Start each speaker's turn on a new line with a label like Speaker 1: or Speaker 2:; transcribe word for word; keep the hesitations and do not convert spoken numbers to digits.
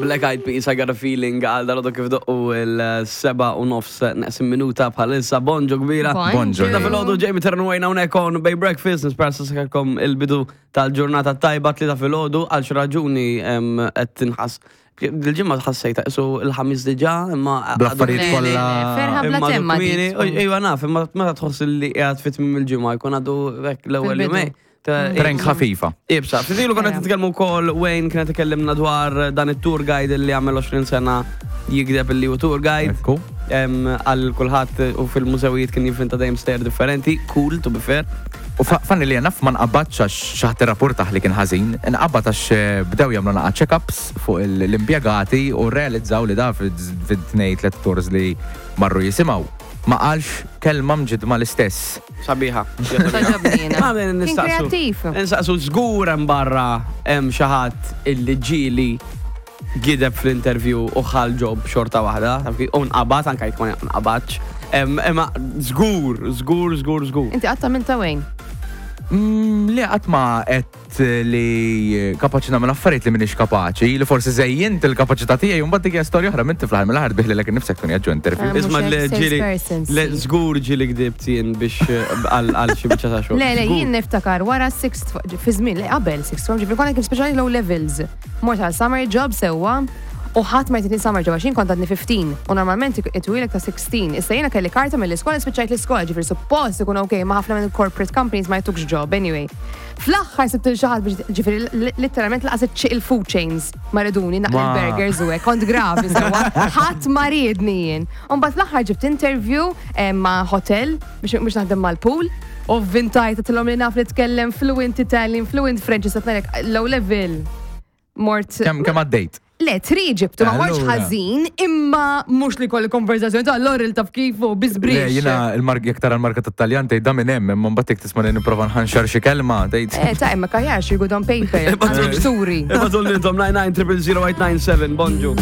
Speaker 1: Black Eyed Peas, "I Got a Feeling", għal dalgħodu kif doqqu il-sebgħa u nofs neqsin minuta bħalissa. Bonġu kbira.
Speaker 2: Bonġu.
Speaker 1: Ta' filgħodu, Jamie Terran hawnhekk on Bay Breakfast, nispera sakalkom il-bidu tal-ġurnata tajba. Tlieta filgħodu, għal xi raġuni em, qed tinħass. Il-ġimgħa ħassejta isu il-Ħamis diġà, imma
Speaker 2: Bl-affarijiet
Speaker 3: Le, le,
Speaker 2: kollha.
Speaker 3: le, ferħa bla
Speaker 1: imma għadu
Speaker 3: temma
Speaker 1: kmieni.
Speaker 3: dik.
Speaker 1: U- Iva naf, imma meta tħoss li qiegħed fit tmiem il-ġimgħa jkun għadu hekk l-ewwel
Speaker 3: Fil-bidu.
Speaker 1: jumej. Ta'
Speaker 2: Prank ħafifa.
Speaker 1: Ibsa, fidilu konna
Speaker 3: Ejja.
Speaker 1: nitkellmu wkoll, Wayne kienet ikellimna dwar dan it-tour guide li għamel għoxrin sena jigdeb li hu tour guide.
Speaker 2: Ekku.
Speaker 1: Em, Għal kulħadd u fil-mużewijiet kien jivvinta dejjem stejjer differenti, cool to be fair.
Speaker 2: U fa- fanni li naf ma nqabadx għax xi ħadd irrapportah li kien ħażin, nqabad għax eh, bdew jagħmlu naqa check-ups fuq il- l-impjegati u realizzaw li da fit-tnejn tliet tours li marru jisimgħu. Ma qalx kelma mġidma l-istess.
Speaker 1: Sabiħa.
Speaker 3: Togħġobni jiena.
Speaker 1: Ma ben
Speaker 3: Kien
Speaker 1: nistaqsu.
Speaker 3: kreattiv.
Speaker 1: Nistaqsu, żgur hemm barra hemm xi ħadd illi ġieli gideb fl-interview u ħa l-job xorta waħda, taf kif? U nqabad, anka jekk ma nqabadx. Em, Imma żgur, żgur, żgur, żgur.
Speaker 3: Inti qatt għamiltha, Wayne?
Speaker 2: Mm, Li qatt ma għedt li kapaċi nagħmel affarijiet li m'iniex kapaċi, li forsi żejjint il-kapaċità tiegħi u mbagħad dik hija storja oħra, minti fl-aħħar mill-aħħar tbigħ lilek innifsek tkun jaġġu interview.
Speaker 3: Ah, mhux
Speaker 1: Isma' li
Speaker 3: hekk,
Speaker 1: ġieli,
Speaker 3: salesperson,
Speaker 1: le
Speaker 3: sì.
Speaker 1: żgur ġieli gdibt jien biex eh, għal għal xi biċċa ta' xogħol.
Speaker 3: Le, le,
Speaker 1: Żgur.
Speaker 3: jien niftakar wara sixth, fi żmien, le, qabel sixth form, ġifieri konna kif speċjali low levels. Mort għal summer job sewwa u ħadd ma jtini summer job għax jien kont għadni ħmistax u normalment itwilek ta' sittax. Issa jiena kelli karta mill-iskola, spiċċajt l-iskola, ġifieri suppost ikun ok, ma ħafna minn corporate companies ma jtukx job anyway. Fl-aħħar sibt lil xi ħadd biex, ġifieri literalment lanqas il-food chains ma riduni naqli
Speaker 2: Ma-
Speaker 3: l-burgers u hekk, kont gravi sewwa, ħadd ma riedni jien. U mbagħad fl-aħħar ġibt interview eh, ma' hotel biex biex naħdem mal-pool u vvintajt tilhom li naf nitkellem fluent Italian, fluent French, satnarek low level. Mort.
Speaker 2: Kemm kemm għaddejt?
Speaker 3: Le, tri ġibtu, ma mortx
Speaker 2: Allura.
Speaker 3: ħażin, imma mhux li kolli konverzazzjoni ta' Laurel taf kifu,
Speaker 2: Le,
Speaker 3: bizbrix.
Speaker 2: jiena il-mark jekk tara l-marka tat-Taljan tgħid da minn hemm, imma mbagħad jekk tisma' li nipprova nħanxar xi kelma tgħid.
Speaker 3: Eh, ta' imma kajax, you good on paper, għandek turi.
Speaker 1: Ibagħtu intom nine nine triple zero eight nine seven, bonġu.